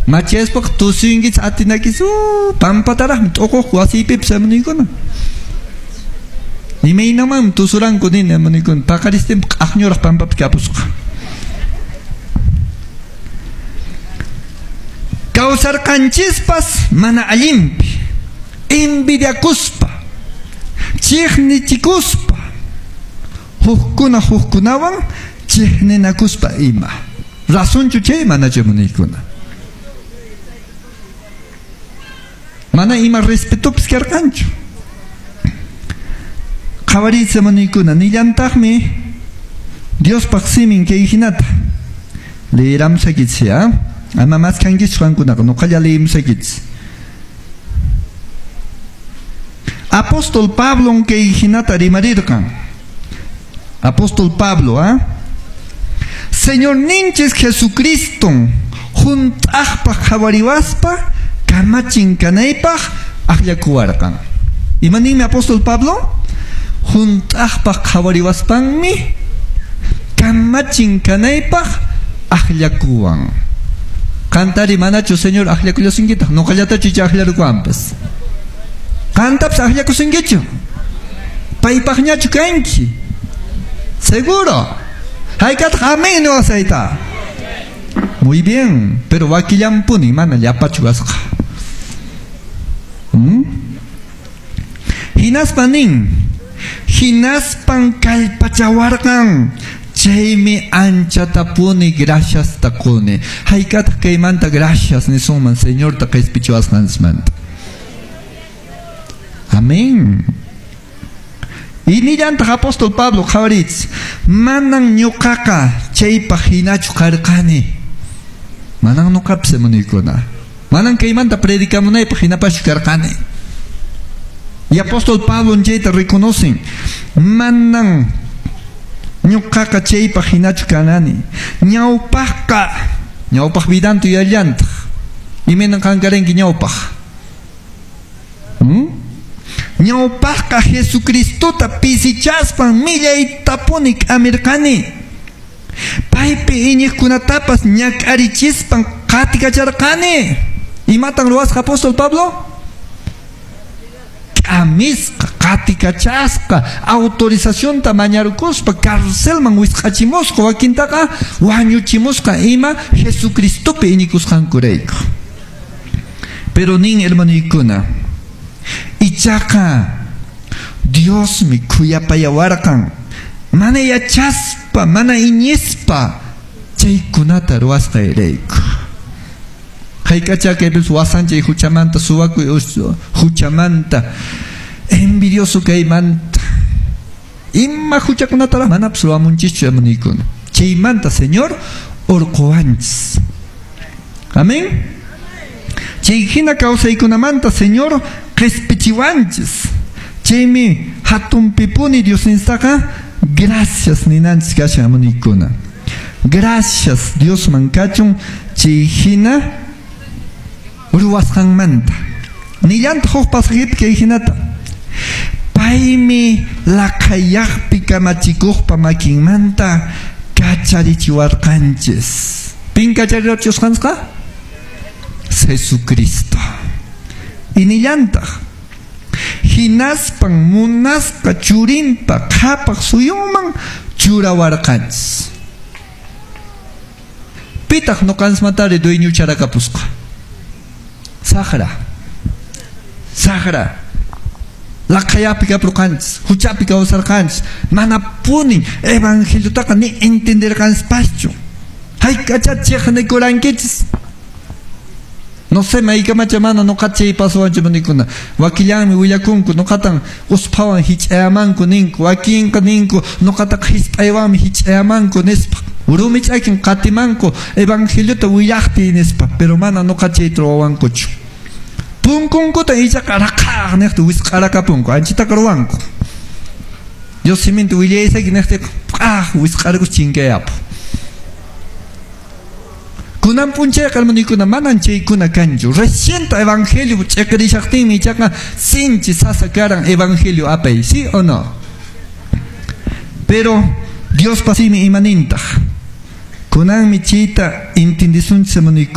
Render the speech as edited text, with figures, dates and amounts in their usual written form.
Machayaspaqa tusuyinkichis atinakis pampataraqmi t'uquq wasiypipas hermanoykuna. Imaynamanmi tusuranku nini hermanoykuna, paqaristinpi q'aqñuraq pampapi kapusqa. Kawsarqanchispas mana allinpi, envidiakuspa, chiqnichikuspa, hukkuna hukkunawan chiqninakuspa ima. Razonchu chay manachu hermanoykuna? Mana ima respetopis karqanchu. Qhawariychis hermanoykuna, nillantaqmi Diospaq simin kay hinata. Leeramusaykichis, ya? Ama maskhankichis qankunaqa, noqalla leemusaykichis. Apóstol Pablon kay hinata rimarirqan. Apóstol Pablo, ¿ah? Señorninchis Jesucriston hunt'aqpaq qhawariwaspa kamachin kanaypaq akllakuwarqan. Ima ninmi apóstol Pablo? Hunt'aqpaq qhawariwaspanmi kamachin kanaypaq akllakuwan. Qantari manachu Señor akllakullasunkitaq, noqallatachu icha akllarukuwanpas. Qantapas akllakusunkichu? Paypaqñachu kanki? Seguro. Haykataq amén niwasayta. Muy bien, pero wakillampuni mana llapachu kasqa. Hinaspa nin, hinaspan kallpachawarqan, chaymi anchatapuni graciasta quni. Haykataq kaymanta gracias nisunman Señorta qispichiwasqanchismanta. Amén. Y nillantaq apóstol Pablo qhawariychis, manan ñuqaqa chaypaq hinachu qarqani. Manan ñuqapis hermanoykuna. Manan kaymanta predicamunaypaq hinapaschu karqani. Y apóstol Pablo chayta reconocen. Manan ñuqaqa chaypaq hinachu kanani. Ñawpaqqa, ñawpaq vidanta yuyallantaq. Imaynan qan karanki ñawpaq? Ñawpaqqa Jesucristota pisichaspan millaytapuni k'amirqani. Paypi iñiqkunatapas ñak'arichispan qatikacharqani. Imatan ruwasqa apóstol Pablo? K'amisqa, qatikachasqa, autorizacionta mañarukuspa carcelman wisq'achimusqa, wakintaqa wañuchimusqa ima Jesucristopi iñikusqankurayku. Pero nin hermanoykuna, ichaqa Diosmi khuyapayawarqan, mana yachaspa, mana iñispa chaykunata ruwasqayrayku. Hayk'acha kaypis wasanchay huchamanta, suwakuy huchamanta, envidioso kaymanta, ima huchakunataraq manapas ruwamunchischu hermanoykuna. Chaymanta Señor urquwanchis. Amén. Chay hina kawsaykunamanta Señor qispichiwanchis. Chaymi hatunpipuni Diosninstaqa gracias ninanchis kashan hermanoykuna. Gracias Diosman kachun chay hina ruwasqanmanta. Nillantaq huk pasajepi kay hinata. Paymi laqhayaqpi kamachikuqpa makinmanta kacharichiwarqanchis. Pin kacharichisqanqa? Jesucristo. Y nillantaq hinaspan munasqa churinpa qhapaq suyunman churawarqanchis. Pitaq nuqanchismantari dueño charakapusqa? Saqra. Saqra. Laqhayapi kapurqanchis, huchapi kawsarqanchis, manapuni evangeliotaqa ni entenderqanchispaschu. Hayk'acha chiqnikurankichis. No sé, maykamacha mana nuqa chay pasuwanchu nikuna. Wakillanmi willakunku, nuqatan usphawan hich'ayamanku ninku, wakinqa ninku, nuqataqa hisp'aywanmi hich'ayamanku nispa. Rumi ch'akin qatimanku evangeliota willaqtiy nispa, pero mana nuqa chayta ruwawankuchu. Punkunkuta ichaqa raqaq niqta wisq'arakapunku, anchitaqa ruwanku. Dios siminta willaysaki niqtiqa p'aq wisq'arakus chinkayapu. Kunan p'unchayqa hermanoykuna manan chaykuna kanchu. Recién evangelio ch'iqirishaqtinmi ichaqa sinchi sasa karan evangelio apay, ¿sí o no? Pero Diospa simi imanintaq. Kunanmi chayta entendisunchis hermanoykuna.